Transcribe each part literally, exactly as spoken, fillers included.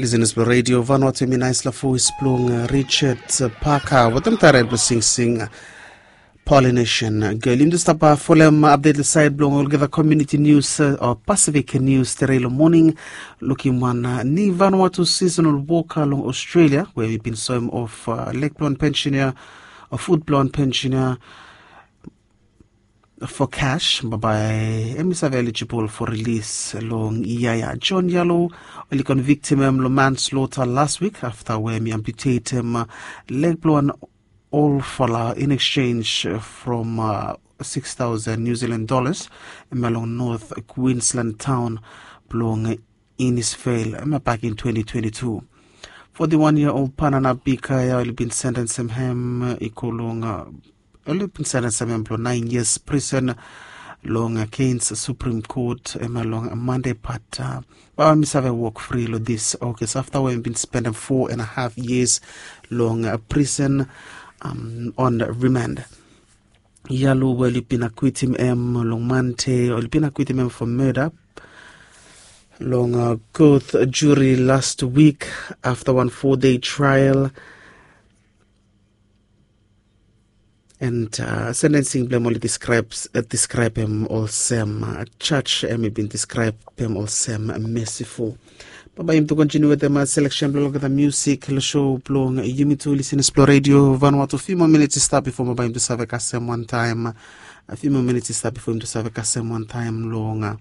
Listeners blong Radio Vanuatu, mi nais la voice blong Richard Parker wetem taret blong singsing Polynesian Girl. Yumi tu stap folem update lo sait blong olgeta community news o Pacific news tere lo moning. Lukim wan ni Vanuatu seasonal worker long Australia we mi bin soem of lek blong pensioner o food blong pensioner for cash, babae em i save eligible for release long yia ya. John Yalo oli convictim em long manslaughter last week afta we em i amputatem leg blong wan olfala in exchange from six thousand New Zealand dollars em long North Queensland town blong Innisfail em back in twenty twenty-two. Forty-one year old panana bika ya oli bin sentencem em i go long oli bin sentencem em blong nine years prison long Cairns Supreme Court em long Monday, but babae em i save wok fri long this August afta we em bin spendem four and a half years long prison on remand. Yalo we oli bin akwitim em long Monday, oli bin akwitim em for murder long court jury last week afta wan four day trial. And sentencing blong em oli describe em olsem, judge em i bin describe em olsem merciful. Babae yumi tu kontiniu wetem selection blong olgeta music long show blong yumi tu listeners blong Radio Vanuatu. Few more minutes i stap before babae yumi tu save kasem wantaem. Few more minutes i stap before yumi tu save kasem wantaem long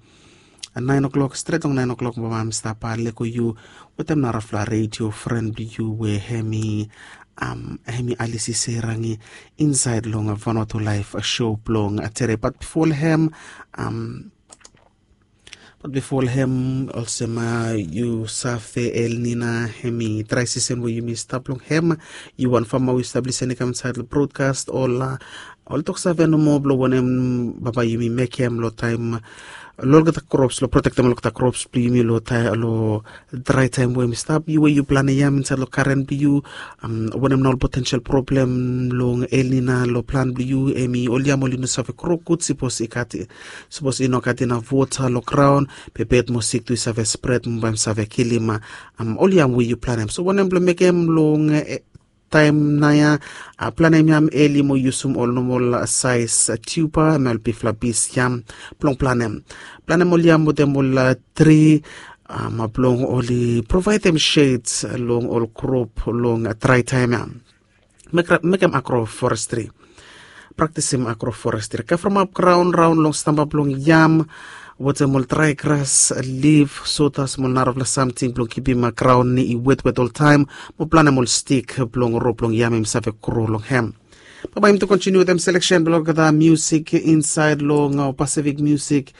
nine o'clock, stret long nine o'clock babae yumi stap lego yu wetem narafala radio friend blong yu we em i Alisi Serangi inside long Vanuatu Live show blong tere. But before hem, but before hem olsem yu save El Nina em i dry season we yumi stap long hem. Yu wan fama we yu stap lisening kam inside long broadcast ol ol tok save nomo blong wanem babae yumi mekem long taem long olgeta crops long protektem olgeta crops blong yumi long taem long dry taem we yumi stap. Yu we yu planem yam insait long karen blong yu, wanem na ol potential problem long El Nina long plan blong yu? Em i ol yam oli no save gro gud sipos i gat sipos i no gat inaf wota long graon. Be bed mo sik tu i save spred mo bae yumi save kilim ol yam we yu planem. So wanem blong mekem long taem naoia? Planem yam eli mo yusum ol nomol saes tiuba em ol bifala bis yam blong planem. Planem ol yam wetem ol tri blong oli provaedem shed long ol krop long drai taem ya. Mekem agroforestri. Praktisim agroforestri, kavremap graon raon long stamba blong yam wetem ol drai gras, lif, sotas mo ol narafala samting blong kipim graon i wetwet oltaem mo planem ol stik blong rop blong yam em i save gro long hem. Bambae yumi tu kontiniu wetem seleksen blong olgeta musik insaed long Pasifik musik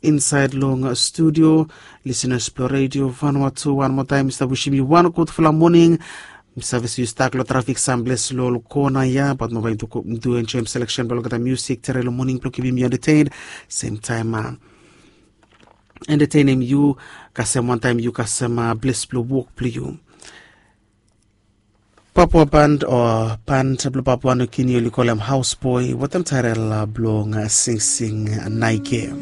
insaed long studio. Lisenas blong redio Vanuatu, wan moa taem mi stap wisim yu wan gudfala moning. Mi save se yu stak long trafik samples long ol kona ya, bat bambae yumi tu enjoem seleksen blong olgeta musik tere long moning blong kipim yu entetein, semtaem entetenem yu kasem wantaem yu kasem ples blong wok blong yu. Papua band o band blong Papua Nugini oli kolem Hausboi wetem taetel blong Singsing Naige.